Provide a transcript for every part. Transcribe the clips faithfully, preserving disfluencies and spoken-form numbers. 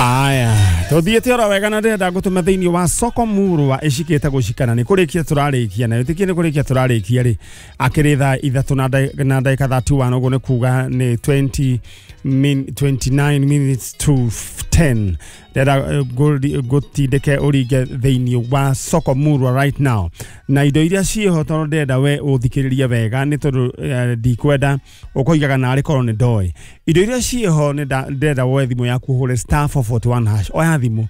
Aya, tuthiĩte oro wega na ndĩrenda ngũtũme thĩinĩ wa soko murwa ĩcikĩte gũcikana nĩ kũrĩkia tũrarĩkia na wĩtĩkie nĩ kũrĩkia tũrarĩkia rĩ akĩrĩ thaa ithatũ na ndagĩka na ndagĩka thirty one ũguo nĩ kuga nĩ twenty min, twenty nine minutes to ten. Ndĩrenda ngũtindĩke ũringe thĩinĩ wa soko murwa right now na indo iria ciĩho tondũ ndĩrenda we ũthikĩrĩrie wega nĩ tondũ eh, ndikwenda ũkoigaga narĩ korwo nĩ ndoĩ indo iria ciĩho nĩ ndĩrenda woe thimũ yaku ũhũre star four forty one hash. Oya thimũ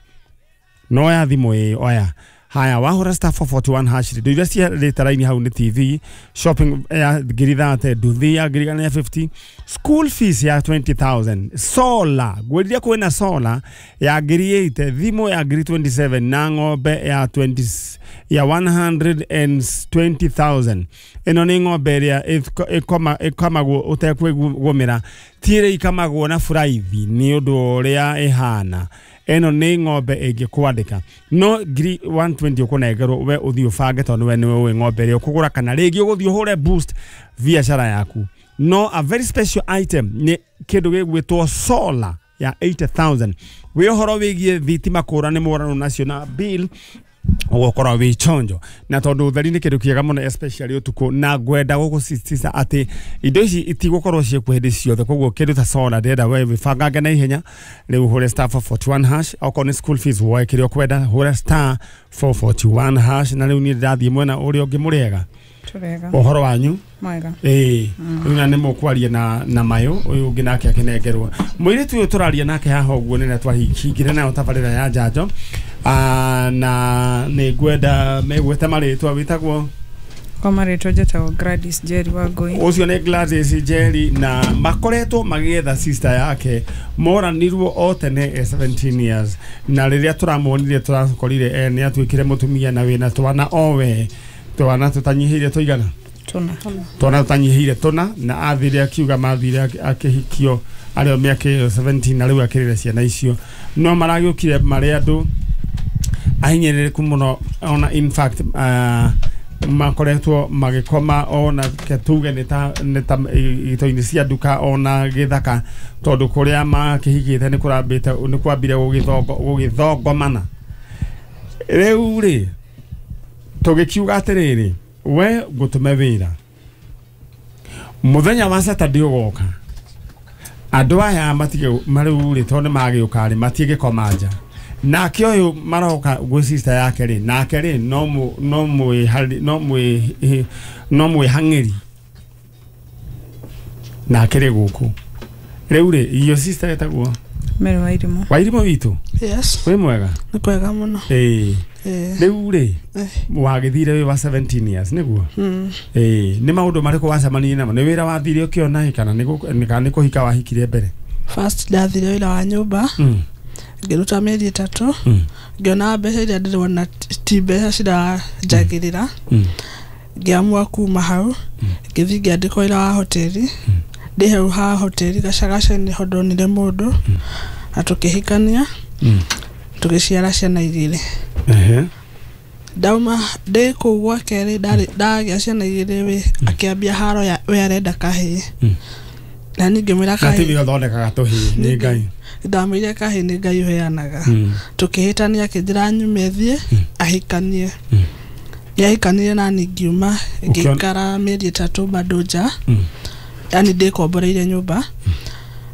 no oya thimũ ĩ oya haya wahũra star four forty one hash indo iria ciarĩte raini hau nĩ T V shopping ya ngiri thate nduthi ya ngiri igana rĩa fifty school fees ya twenty thousand solar ngwĩrire kwĩna solar ya ngiri eight thimũ ya ngiri twenty seven na ng'ombe ya twenty ya one hundred and twenty thousand ĩno nĩ ng'ombe ĩrĩa ĩkamagwo ũtekwĩgũmĩra ti ĩrĩa ikamagwo na buraithi nĩ ũndũ ũrĩa ĩhana ĩno nĩ ng'ombe ĩngĩkwandĩka no ngiri one twenty ũkũnengerwo we ũthiĩ ũbange tondũ we nĩwe ũĩ ng'ombe ĩrĩa ũkũgũra kana rĩngĩ ũgũthiĩ ũhũre boost biacara yaku no a very special item nĩ kĩndũ gĩgwĩtwo solar ya eighty thousand wĩ ũhoro wĩgiĩ thitima kũra nĩ mũrano nacio na bill ũgũkorwo wĩ chonjo na tondũ ũtheri nĩ kĩndũ kĩega mũno especially ũtukũ na ngwenda gũgũsisitiza atĩ indo ici itigũkorwo ciĩkuo hĩndĩ ciothe koguo kĩndũ ta solar ndĩrenda we wĩbangange na ihenya rĩu ũhũre star four forty one hash okorwo nĩ school fees woe kĩrĩa ũkwenda hũra star four forty one hash na rĩu niĩ ndĩrathiĩ mwena ũrĩa ũngĩ mũrĩega Tũrega. ũhoro wanyu Mwega. ĩĩ rĩu na nĩ mũkwaria na na mayũ ũyũ ũngĩ nake akĩnengerwo mũirĩtu ũyũ tũraria nake haha ũguo nĩ twahingire nayo tabarĩra ya njanjo Ah, na nĩ ngwenda megwete marĩtwa wĩtagwo Kwa marĩtwa njĩtagwo Gladys Njeri Wangũi. ũcio nĩ Gladys Njeri na makoretwo magĩetha sister yake moranirwo o tene e seventeen years na rĩrĩa tũramuonire tũrakorire e nĩ atuĩkire mũtumia na wĩna twana owe twana tũtanyihĩire tũigana Tũna. twana tũtanyihĩire tũna na athire akiuga mathire akĩhikio arĩ o mĩaka ĩyo seventeen na rĩu akĩrĩra ciana icio no maragĩũkire marĩ andũ ahinyĩrĩrĩku mũno ona in fact uh, makoretwo magĩkoma ona ke tuge nĩ ta nĩ ta ito-inĩ cia nduka ona gĩthaka tondũ kũrĩa makĩhikĩte nĩ kũrambĩte nĩ kwambire gũgĩthongo gũgĩthongomana rĩu rĩ tũgĩkiuga atĩrĩrĩ we ngũtũme wĩra mũthenya wa Saturday ũgoka andũ aya matige marĩu rĩ tondũ nĩ magĩũka rĩ matigĩkoma nja nake ũyũ maroka gwĩ sister yake rĩ nake rĩ no mũ no mwĩ no mwĩ no mwĩhang'ĩri nake rĩ gũkũ rĩu rĩ iyo sister ĩtagwo Mary Wairimũ. Wairimũ witũ Yes, wĩ mwega nĩ kwega mũno. ĩĩ Ĩĩ. rĩu rĩ Eh. wagĩthire wĩ wa seventeen years nĩguo Mm. ĩĩ nĩ maũndũ marĩkũ wacemanirie namo nĩ wĩra wathire ũkĩona ĩ kana nĩ gũ- kana nĩ kũhika wahikire mbere First ndathire wĩra wa nyũmba Mm. ngĩruta mĩeri ĩtatũ Mm. ngĩona mbeca iria ndĩrona ti mbeca ciranjagĩrĩra Mm. ngĩamua kuma hau ngĩthiĩ ngĩandĩkwo wĩra wa hoteli ndĩ hau ha hoteli gacagaca nĩho ndonire mũndũ na tũkĩhikania Mm. tũgĩciara ciana igĩrĩ Ehe. ndauma ndĩ kũu gwake rĩ ndarĩ ndagĩa ciana igĩrĩ wĩ akĩambia haro ya we arenda kahĩĩ Mm. na niĩ ngĩmwĩra na kahĩĩ tiwe ũthondekaga tũhĩĩ nĩ Ngai ndamwĩrire kahĩĩ nĩ Ngai ũheanaga Mm. tũkĩhĩtania akĩnjĩra nyume thiĩ ahikanie Mm. nĩahikanire na niĩ ngiuma Ũkĩona- ngĩikara mĩeri ĩtatũ bado nja Mm. yani ndĩkomboreire nyũmba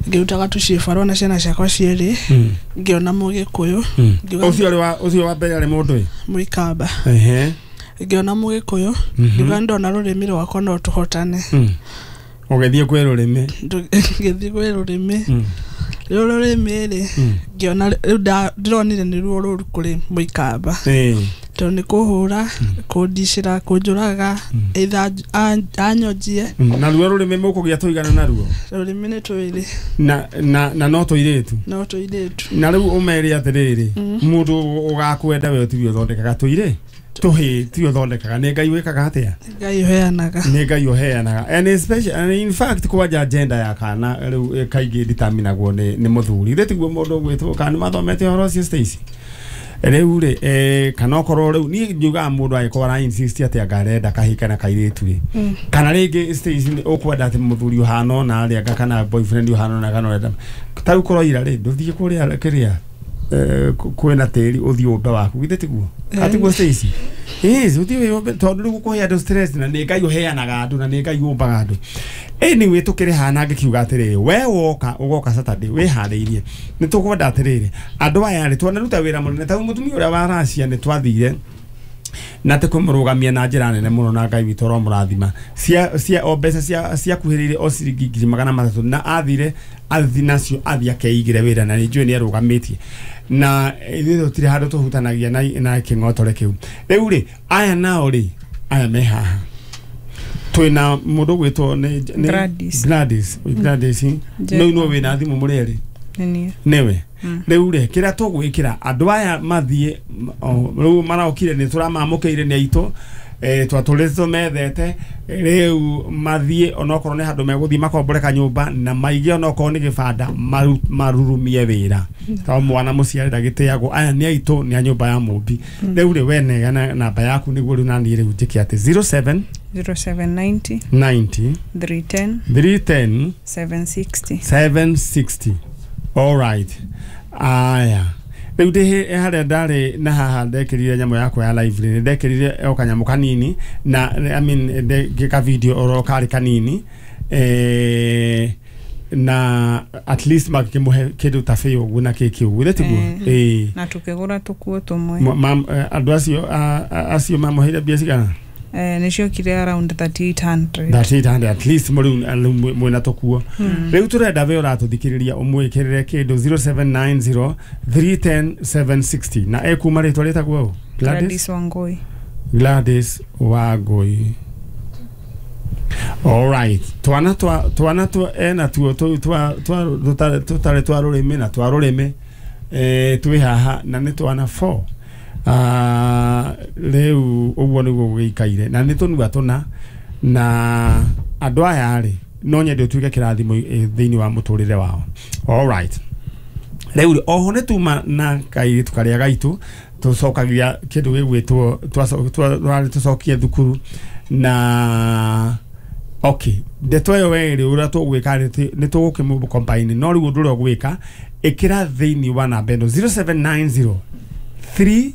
ngĩrutaga tũciĩbarũa na ciana ciakwa cierĩ Mm. ngĩona mũgĩkũyũ Mm. Ngiuga- ũcio ũrĩ wa ũcio wa mbere arĩ mũndũ ĩ mũikamba ehe ngĩona mũgĩkũyũ Mhm. ngiuga ndona rũrĩmĩ rwakwa no tũhotane Mm. ũgĩthiĩ kwĩ rũrĩmĩ Ndũ- ngĩthiĩ kwĩ rũrĩmĩ Mm. rĩu rũrĩmĩ rĩ Mm. ngĩona rĩu nda- ndĩronire nĩruo rũru kũrĩ mũikamba Ĩĩ. tondũ nĩ kũhũra kũndicĩra kũnjũraga either anyonjie Mm. na ruo rũrĩmĩ mũkũgĩa tũigana naruo rũrĩmĩ nĩ twĩrĩ na na na no tũirĩtu no tũirĩtu na rĩu ũmere atĩrĩrĩ mũndũ ũgakwenda we tiwe ũthondekaga tũirĩ tũhĩĩ tiwe ũthondekaga nĩ Ngai wĩkaga atĩa Ngai ũheanaga nĩ Ngai ũheanaga and especially and in fact kwanja gender ya kana rĩu eh, kaingĩ determinagwo nĩ nĩ mũthuri rĩ tiguo mũndũ ũgwĩtwo kana nĩ mathomete ũhoro ũcio Stacy rĩu rĩ eh, kana okorwo rĩu niĩ njugaga mũndũ angĩkorwo ara insist atĩ anga arenda kahĩĩ kana kairĩtu rĩ Mm. kana rĩngĩ Stacy nĩ ũkwenda atĩ mũthuri ũhana ũna rĩ anga kana boyfriend ũhana ũna kana ũrenda ta rĩu kũroira rĩ ndũthiĩ kũrĩa kĩrĩa kwĩna tĩri ũthiĩ ũmbe waku githĩ tiguo atiguo Stacy ĩĩ ũthiĩ wĩyũmbe tondũ rĩu gũkũhe andũ stress na nĩ Ngai ũheanaga andũ na nĩ Ngai ũmbaga andũ anyway tũkĩrĩ haha ngĩkiuga atĩrĩrĩ we woka ũgoka Saturday wĩharĩirie nĩ tũkwenda atĩrĩrĩ andũ aya rĩ twanaruta wĩra mũnene ta mũtumia ũrĩa wa Russia nĩ twathire na te kũmũrũgamia na njĩra nene mũno na Ngai witũ aromũrathima cia cia o mbeca cia ciakuhĩrĩire o ciringi ngiri magana matatũ na athire athi nacio athi akeigire wĩra na nĩ njũĩ nĩ arũgamĩtie na ithuĩ tũtirĩ handũ tũhutanagia na na kĩng'otore kĩu rĩu rĩ aya nao rĩ aya me haha twĩna mũndũ gwĩtwo nĩ Gladys Gladys Gladys no no wĩna thimũ mũrĩ erĩ nĩwe rĩu rĩ kĩrĩa tũgwĩkĩra andũ aya mathiĩ rĩu maraokire nĩ tũramamũkĩire nĩ aitũ eh twatũrĩte tũmethete rĩu mathiĩ onokorwo nĩ handũ megũthiĩ makombore kanyũmba na maige onokorwo nĩ gĩbanda marurumie wĩra tondũ mwana mũciare ndagĩtĩagwo aya nĩ aitũ nĩ a nyũmba ya mũmbi rĩu rĩ we neana namba yaku nĩguo rĩu naniĩ rĩu njĩke atĩ zero seven zero seven ninety ninety three ten three ten seven sixty seven sixty. All right. Aya. Rĩu ndĩ harĩa ndarĩ na haha ndekĩrire nyamũ yakwa ya live rĩ ndekĩrire o kanyamũ kanini na I mean ngĩka video oro karĩ kanini eh na at least makĩmũhe kĩndũ ta bĩũ ũguo na kĩkĩ ũguo tiguo eh na tukĩgũra tũkuo tũmwe andũ acio acio mamũheire mbia cigana eh nĩciokire around thirty-eight hundred thirty-eight hundred at least mũrĩu mwĩna tũkuo rĩu tũrenda we ũratũthikĩrĩria ũmwĩkĩrĩre kĩndũ zero seven nine zero three ten seven sixty na ekuma rĩtwa rĩtagwo ũ Gladys Wangui Gladys Wangui all right twana twa twana twa ena tuo twa twa tũtarĩ twa rũrĩmĩ na twa rũrĩmĩ eh twĩ haha na nĩ twana four ah rĩu ũguo nĩguo gũgĩikaire na nĩ tũnua tũna na andũ aya rĩ no nyende ũtuĩke kĩrathimo thĩinĩ wa mũtũrĩre wao all right rĩu oho nĩ tuma na kairĩtu karĩa gaitũ tũcokagia kĩndũ gĩgwĩtwo twarĩ tũcokie thukuru na okay ndeto ĩyo we rĩ ũrĩa tũgwĩka nĩ tũgũkĩmũ combine no rĩu ũndũ ũrĩa ũgwĩka ĩkĩra thĩinĩ wa namba ĩno zero seven nine zero three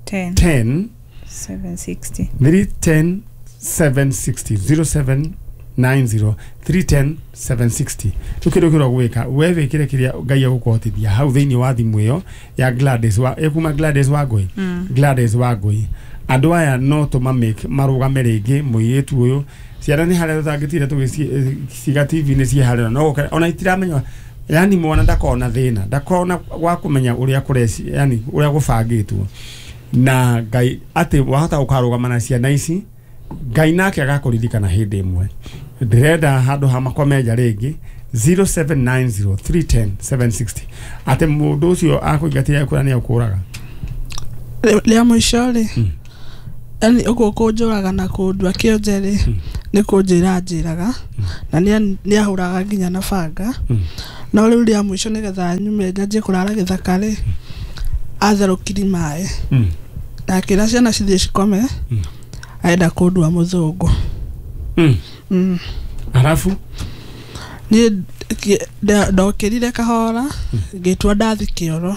ten ten seven sixty three ten seven sixty zero seven nine zero three ten seven sixty rĩu kĩndũ kĩrĩa ũgwĩka we wĩkĩre kĩrĩa Ngai egũkũhotithia hau thĩinĩ wa thimũ ĩyo ya Gladys wa ĩkuma Gladys Wangui Gladys Wangui andũ aya no tũmamake marũgame rĩngĩ mũirĩtu ũyũ ciana nĩ harĩa tũtangĩtire tũgĩciga T V nĩ ciĩ harĩa no ona itiramenya yani mwana ndakona thĩna ndakona gwa kũmenya ũrĩa kũreci yani ũrĩa gũbangĩtwo na Ngai atĩ wahota gũkarũgama na ciana ici Ngai nake agakũririkana hĩndĩ ĩmwe ndĩrenda handũ ha makomenja rĩngĩ zero seven nine zero three ten seven sixty atĩ mũndũ ũcio akũingatĩra kũrĩa nĩ akũraga rĩa mũico rĩ yani ũguo kũnjũraga na kũndua kĩonje rĩ nĩ kũnjĩra njĩraga na nĩ ahũraga nginya na banga no rĩu rĩa mũico nĩgetha nyume njanjie kũrara gĩthaka rĩ atherũkiri maĩ na akĩra ciana cithiĩ cikome arenda kũndua mũthũngũ arabu niĩ ndokĩrire kahora ngĩtua ndathi kĩoro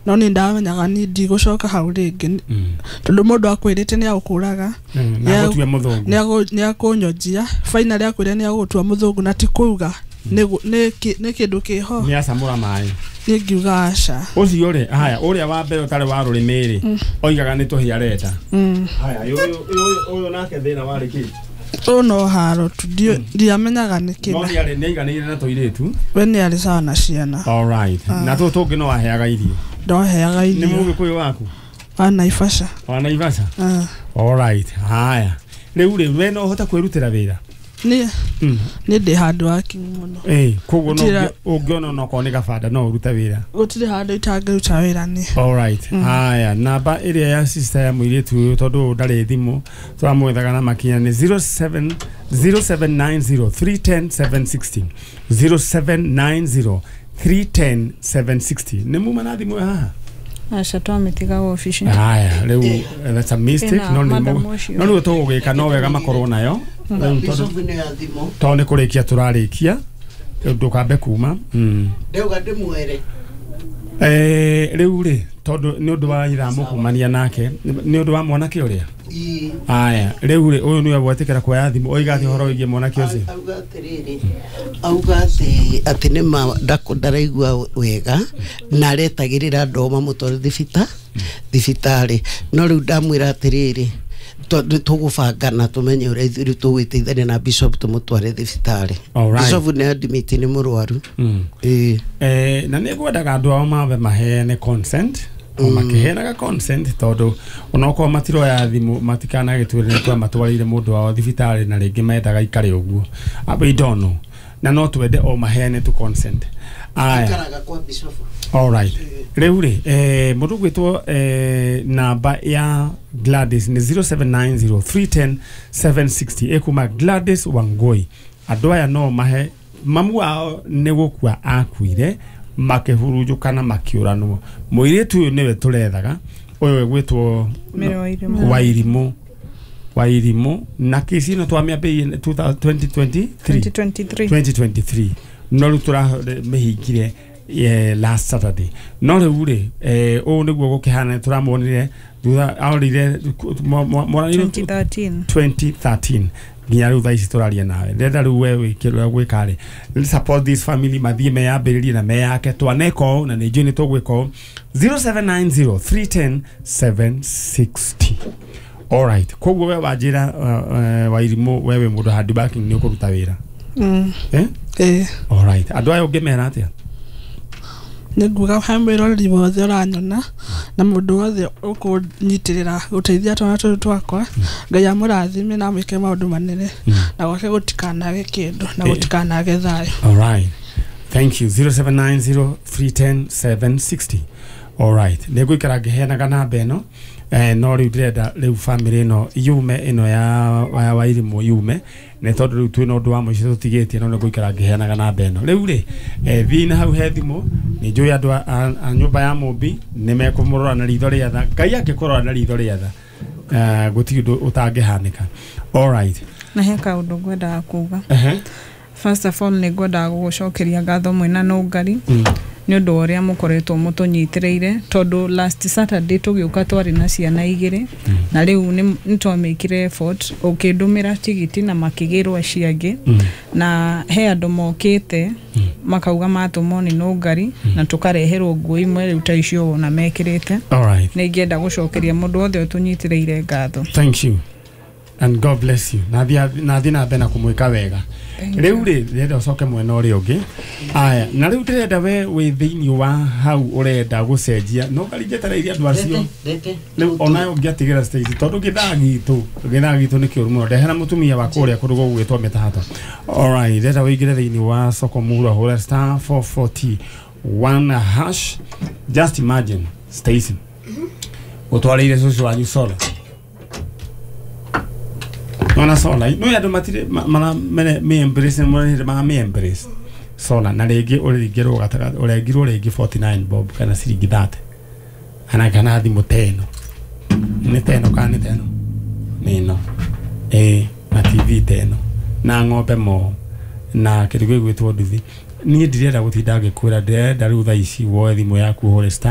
no nĩ ndamenyaga niĩ ndigũcoka hau rĩngĩ tondũ mũndũ akwĩrĩte nĩ agũkũraga nĩ akũnyonjia finally akwĩra nĩ agũgũtua mũthũngũ na ti kuuga nĩ kĩndũ kĩho nĩ acamũra maĩ niĩ ngiuga aca ũcio rĩ haya ũrĩa wa mbere ũtarĩ wa rũrĩmĩ rĩ oigaga nĩ tũhĩa arenda haya ũyũ nake thĩna warĩ kĩ ũyũ no haro tu ndiamenyaga nĩkĩ no nĩ aiganĩire na tũirĩtu we nĩ arĩ sawa na ciana all right na tũtũ tũngĩ no aheaga irio ndoheaga irio nĩ mũgĩkũyũ waku wa Naivasha wa Naivasha all right haya rĩu rĩ we no ũhote kwĩrutĩra wĩra niĩ niĩ ndĩ handũ wakinyu mũno ĩĩ koguo no ũngĩona onokorwo nĩ gabanda no ũrute wĩra gũtirĩ handũ itangĩruta wĩra niĩ all right haya namba ĩrĩa ya sister ya mũirĩtu ũyũ tondũ ndarĩ thimũ tũramwethaga na makinya nĩ zero seven zero seven nine zero three ten seven sixty zero seven nine zero three ten seven sixty nĩ muma na thimũ haha aca twamĩtiga wabici haya rĩu that's a mistake no nĩ no rĩu tũgũgĩka no wega makorwo nayo tondũ nĩ kũrĩkia tũrarĩkia ndũkambe kuma ndauga ndĩmwere Eh, rĩu rĩ tondũ nĩ ũndũ wa ithamo kumania nake nĩ ũndũ wa mwanake ũrĩa Ii. aya rĩu rĩ ũyũ nĩwe gwetĩkĩra kuoya thimũ oiga atĩ ũhoro wĩgiĩ mwanake ũcio. Auga atĩrĩrĩ, auga atĩ atĩ nĩ ma ndako- ndaraigua wega na aretagĩrĩra andũ ao mamũtware thibita thibitarĩ, no rĩu ndamwĩra atĩrĩrĩ, tondũ tũgũbangana tũmenye ũrĩa ithuĩ rĩu tũgwĩteithania na bishop tũmũtware thibitarĩ. Alright. Bishop nĩ admit nĩ mũrwaru. Mm. Ĩĩ. Eh, na nĩ ngwendaga andũ ao mambe maheane consent o makĩheanaga consent tondũ onokorwo matiroya thimũ matikanagĩtwĩre nĩ twamatwarĩire mũndũ wao thibitarĩ na rĩngĩ mendaga ikare ũguo. Ah, we don't know, na no twende o maheane tu consent. Aya. Aikaraga kwa bishop. Alright. Rĩu rĩ eh, mũndũ gwĩtwo eh, namba ya Gladys nĩ zero seven nine zero three one zero seven six zero ĩkuma Gladys Wangoi. Andũ aya no mahe mamu wao nĩ gũkua akuire makĩhurunjũkana makĩũranwo. Mũirĩtu ũyũ nĩwe tũrethaga, ũyũ ĩgwĩtwo Mary Wairimũ. Wairimũ Wairimũ na kesi ĩno twamĩambĩrĩirie twenty twenty-three. twenty twenty-three. twenty twenty-three, no rĩu tũramĩhingire eh, last Saturday, no rĩu rĩ eh, ũũ nĩguo gũkĩhana tũramuonire thutha aorire moranire twenty thirteen. twenty thirteen nginya rĩu thaa ici tũraria nawe. Ndĩrenda rĩu we wĩke ũrĩa gwĩka rĩ, support this family, mathiĩ meyambĩrĩrie na meyake. Twaneka ũũ na nĩ njũĩ nĩ tũgwĩka ũũ. zero seven nine zero three one zero seven six zero. Alright, koguo we wanjĩra uh, uh, Wairimũ, we wĩ mũndũ hard working, nĩ ũkũruta wĩra? Mm. Eh? Ĩĩ. Alright, andũ aya ũngĩmera atĩa? Nĩ nguga he mwĩroreri wothe ũranyona na mũndũ wothe ũkũnyitĩrĩra gũteithia twana tũtũ twakwa, Ngai amũrathime na amwĩke maũndũ manene na gwake gũtikanage kĩndũ na Eh. gũtikanage thayũ. Alright. Thank you. zero seven nine zero three one zero seven six zero. Alright. Nĩ ngũikara ngĩheanaga namba ĩno eh, no rĩu ndĩrenda rĩu family ĩno yume ĩno ya ya Wairimũ yume nĩ tondũ rĩu twĩna ũndũ wa mũico tũtigĩtie, no nĩ ngũikara ngĩheanaga namba ĩno rĩu rĩ eh, thiĩ na hau he thimũ. Nĩ njũĩ andũ a, a, a nyũmba ya Mũmbi nĩ mekũmũrora na ritho rĩa tha. Ngai angĩkũrora na ritho rĩa tha eh, gũtirĩ ũndũ ũtangĩhanĩka. Alright. Na he kaũndũ ngwendaga kuga. Ehe. First of all, nĩ ngwendaga gũgũcokeria ngatho mwĩna Nũngari Mm. nĩ ũndũ wa ũrĩa mũkoretwo mũtũnyitĩrĩire, tondũ last Saturday tũgĩũka twarĩ na ciana igĩrĩ na rĩu nĩ nĩ twamĩkire effort ũkĩndũmĩra tigiti na makĩgĩrwo acio angĩ Mm. na he andũ mokĩte makauga matũmwo nĩ Nũngari na tũkareherwo nguo imwe rĩu ta icio wona mekĩrĩte. Alright. Nĩ ingĩenda gũcokeria mũndũ wothe ũtũnyitĩrĩire ngatho. Thank you and God bless you. Nathi nathi na mbere na kumwĩka wega. Rĩu rĩ ndĩrenda ũcoke mwena ũrĩa ũngĩ. Aya, na rĩu ndĩrenda we wĩ thĩinĩ wa hau ũrenda gũcenjia no ngari njetereire andũ acio. Rete. Rĩu onayo ũngĩatigĩra stage tondũ gĩthaa gitũ gĩthaa gitũ nĩ kĩũru mũno. Ndehera mũtumia wa kũrĩa kũndũ gũgwĩtwo mĩtahato. Alright, ndĩrenda wĩingĩre thĩinĩ wa soko mura hũra star four four one hash. Just imagine, Stacy, ũtwarĩire cũcũ wanyu solar. Nona solar no andũ matirĩ mara mene me embrace mara mara me embrace solar na rĩngĩ ũrĩngĩrwo gatagatĩ ũrengirwo rĩngĩ forty-nine bob kana ciringi thirty ana kana thimũ teno nĩ teno kana nĩ teno nĩ ĩno ĩĩ na T V teno na ng'ombe mo na kĩndũ gĩgwĩtwo nduthi. Niĩ ndirenda gũtinda ngĩkwĩra, ndĩrenda rĩu thaa ici woe thimũ yaku ũhũre star